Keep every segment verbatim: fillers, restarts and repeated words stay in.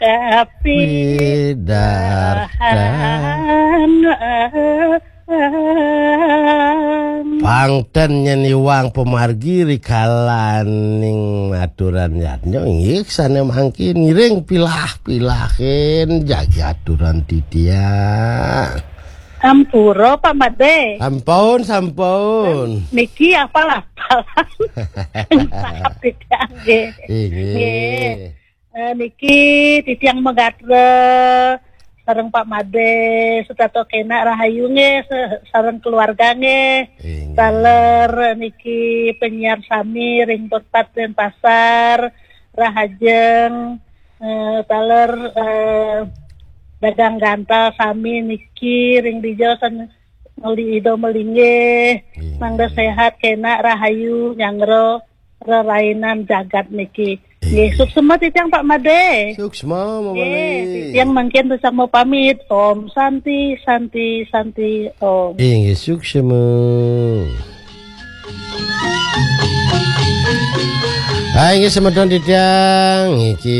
Kapidahan. Pangten nyén iwang pamargi rikalaning aturan yadnya inggih sané mangkin ngiring pilah-pilahin jagi aturan titiang. Ampura, Pak Madé. Sampun, sampun. Niki apal-apalan. Tapi nggih. Inggih. Nggih. Eh, niki titiang magatra sareng Pak Madé, setata kénak rahayu nggih, se-, sareng keluarga nggih. Inggih. Taler niki penyiar sami ring Perpat Denpasar, rahajeng, eh, taler, eh, dagang gantal sami niki ring dija san-, meli ida melinggih, inggih, mangda séhat, kénak, rahayu, nyanggra rerainan jagat niki. Nggih, inggih, suksma titiang Pak Madé. Suksma, Mama. Nggih, Li. Titiang mangkin sesama pamit. Om Santi, Santi, Santi, Om. Inggih, suksma. Hai, inggih semeton titiang, iki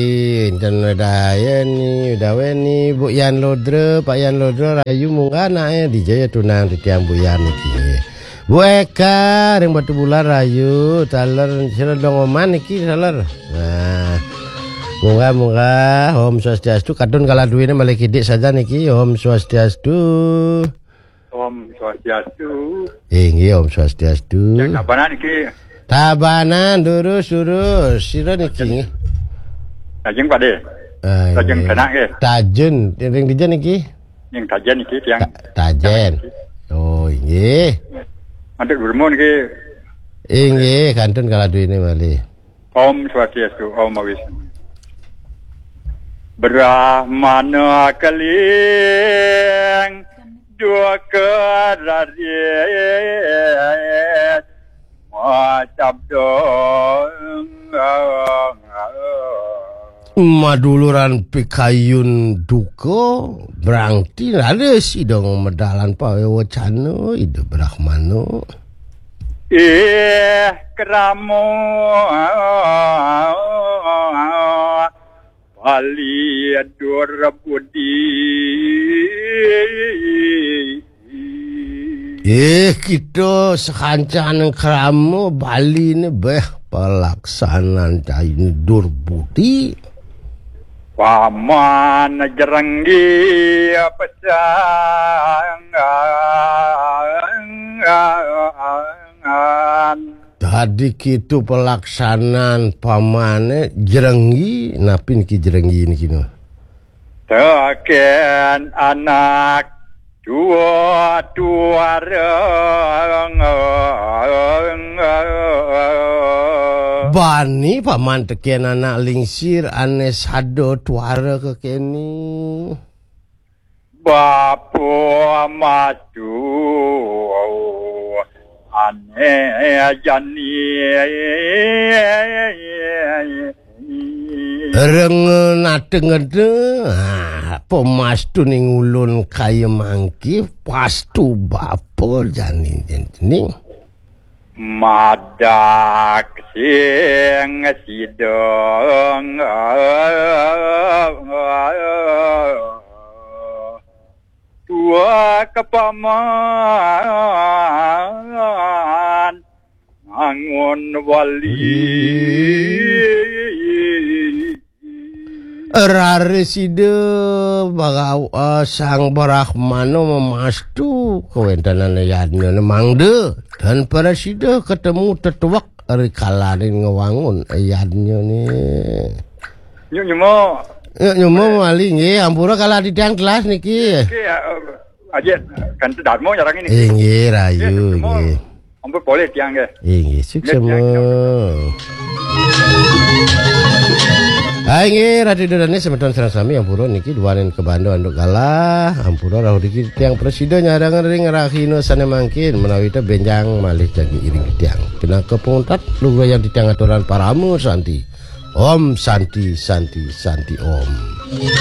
inten wedayeni, wedawéni, Bu Yan Lodra, Pak Yan Lodra, rahayu munggah anaké, dija ya tunang titiang Bu Yan iki. Bu Eka, ring Batubulan rahayu, taler sira dong oman iki, taler. Nah, munggah, munggah, Om Swastiastu, kadun kala duwéné malih kidik saja niki, Om Swastiastu. Om Swastiastu. Inggih, Om Swastiastu. Yang Tabanan iki. Tabanan, durus, durus. Sira niki? Lajeng Pak Dé. Ah, lajeng inggih. Sanak nggih. Tajun, ring dija niki? Yang Tajen niki, tiang. Ta-, Tajen. Oh, inggih. Antuk Gurmun niki. Inggih, kantun kala duwéné malih. Om Swastiastu, Om Awisnu. Brahmana keling duka raris macabda. Maduluran pikayun duka, brangti raris ida medalan pawecana Ida Brahmana. Ih, krama Bali dur budi. Eh, kita sekancan krama Bali ni beh pelaksanaan cai ni dur budi. Paman jerenggi pesangan. Tadi kitu pelaksanaan pamané jerenggi, napi niki jerenggi niki no? Tekén anak tua tuara. Bani paman tekén anak lingsir ané sada tuara kekéné. Bapa mastu ané jani. Reng nate ngede, ah, pemastu ning ulun kaya mangki, pastu bapa jani jening. Madak sing sidang. Tua kepaman ngangun wali. Rare sida bagawa sang Brahmana memastu kawentenan yadnya mangda dan para sida ketemu tetuwek rikalaning ngewangun yadnya ni. Nyuk nyuma. Nyuk nyuma mali nggih, ampura kala titiang telas niki. Niki, ya, eh, aja kan Dharma nyarang ini. Inggih, rayu, nggih, nggih. Ampun boleh tiang nggih. Inggih, suksema. Nggih, tiang, tiang. Hai nggih, Ratu Ida Dané semeton sareng sami ampura niki duaning kabanda anduk galah, ampura rauh niki tiang prasida nyarang ring rahina sané mangkin menawi ta benjang malih jagi iring tiang. Pinaka panguntat lugrayang titiang aturan parama santi. Om Santi, Santi, Santi, Om.